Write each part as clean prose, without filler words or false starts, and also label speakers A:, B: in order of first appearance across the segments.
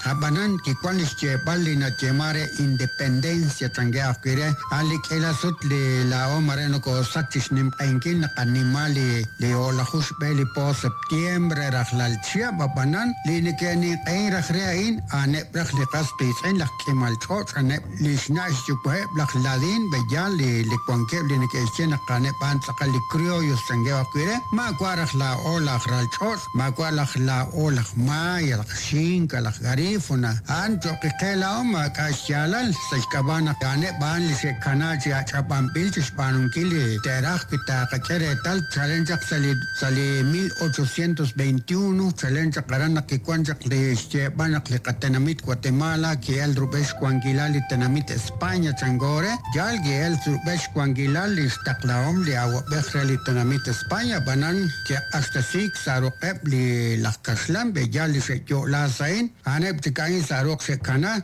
A: Ab'anan kiwan li xyeeb'al li nayeeman re independencia chankeb' ajwi' re, a'an li k'iila sut li laa'o mare nokoosach chi xnimq'ehinkil naqanima li li o'laju xb'e li po septiembre rajlal chihab', ab'anan li neke'ninq'ehin raj re a'in a'aneb' raj li qas qiitz'in laj k'imal ch'och', a'aneb' li xna' xyuwa'eb' laj ladin b'eyal li li wankeb' li neke'xye naq a'aneb' a'an tz'aqal li criollos chankeb' ajwi' re, maawa' raj laa'o laj ralch'och', maawa' laj laa'o laj maya, laj xinka, laj garífuna, a'an cho'q qe laa'o maak'a' xyaalal, sa' xk'ab'a' naq a'aneb' a'an li xe'kana chi ach'ab'anb'il chi xb'aanunkil li te'raj wi taaqak'e reetal chalen chaq sa' li sa' li 1821, chalen chaq aran naq kiwan chaq li xyeeb'al naq li qatenamit Guatemala ki'el rub'el xwankilal li tenamit España chanko re, yaal ki'el rub'el xwankilal li xtaqlahom li awab'ej re li tenamit España, ab'anan ke'q'axtesiik sa' ruq'eb' li laj kaxlan b'eyal li xe'yo'la sa' a'in, a'aneb' chik a'in sa' ruq' xe'kana.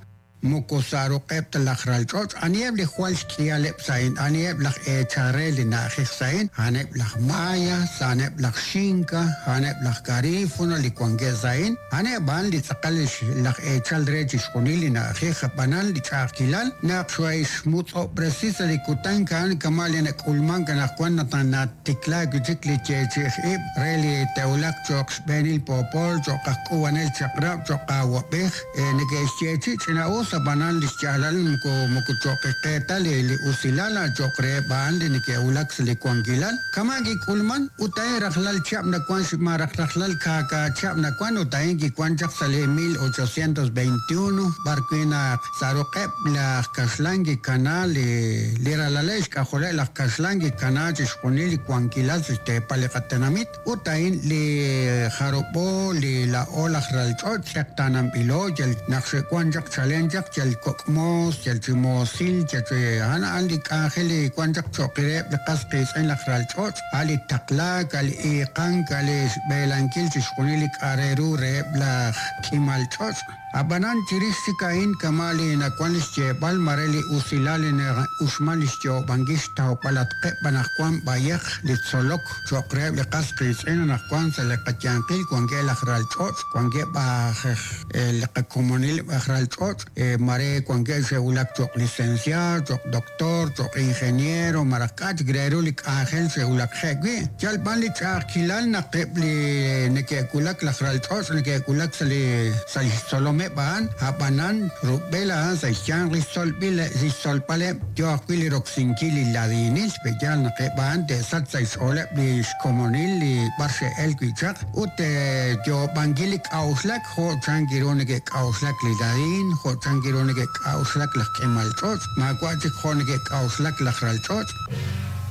A: Moko sa' ruq'eb' ta laj ral ch'och'. Aniheb' li jwal xk'ihaleb' sa' a'in? Aniheb' laj eechal re li na'ajej sa' a'in? A'aneb' laj Maya, a'aneb' laj Xinka, a'aneb' laj Garífuna li wankeb' sa' a'in. A'aneb' a'an li tz'aqal laj eechal re chixjunil li na'ajej. Ab'anan li ch'a'ajkilal naq xmutz'ob'resi sa' li kutan a'an kama' li nak'ulmank anaqwan naq natiklaak wi' chik li yeechi'ij ib' re li te'wulaq cho'q xb'eenil poopol, cho'q aj k'uub'anel chaq'rab', cho'q awab'ej. Neke'xyeechi' ch'ina'us, ab'anan li xyaalal moko moko cho'q qe ta li li usilal, a' cho'q reheb' a'an li neke'wulak sa' li wankilal. Kama' kik'ulman, ut a'in rajlal chihab' nawan malaj rajlal kaaka chihab' nawan, ut a'in kiwan chaq sa' li 1821, b'ar wi' naq sa' ruq'eb' laj kaxlan kikana li li ralaleb' xk'ajoleb' laj kaxlan kikana chixjunil li wankilal sa' xteepal li qatenamit. Ut a'in li jarub'o li laa'o laj ral ch'och' tz'eqtaananb'ilo yal naq xe'wan chaq chalen chaq yal kok' moos, yal chi moosil, yal chi a'an a'an li k'anjel li wan chaq cho'q reheb' li qas qiitz'in laj ral ch'och', a' li taqlaak, a' li iiqank, a' li xb'eelankil chixjunil li k'a' re ru reheb' laj k'imal ch'och'. Ab'anan chirix chik a'in kama' li nawan li xyeeb'al mare li usilal li na'uxman li xyoob'ankil xtawb'alatqeb' anaqwan b'ayaq li tzolok cho'q reheb' li qas qiitz'in anaqwan sa' li qayanqil wankeb' laj ralch'och' wankeb' aj li qakomonil aj ralch'och' mare wankeb' xe'wulak cho'q licenciado cho'q doctor cho'q ingeniero malaj k'a' chik re ru li k'anjel xe'wulakje' wi'. Yal b'an li ch'a'ajkilal naq eb' li neke'wulak laj ral ch'och' neke'wulak sa' li sa' li xtzolomeb' a'an, a'b'anan rub'el a'an sa' xyanq li xtzolb'il li xtzolb'aleb' yoo ajwi' li roksinkil li ladinil, pe'yaal naq eb' a'an te'sachq sa' xch'ooleb' li xkomonil li b'ar xe'el wi' chaq ut yoob'ankil li k'a'uxlak jo' chan ru neke'k'a'uxlak li ladin, jo' chan ru neke'k'a'uxlak laj k'imal ch'och', maawa' chik jo' neke'k'a'uxlak laj ral ch'och'.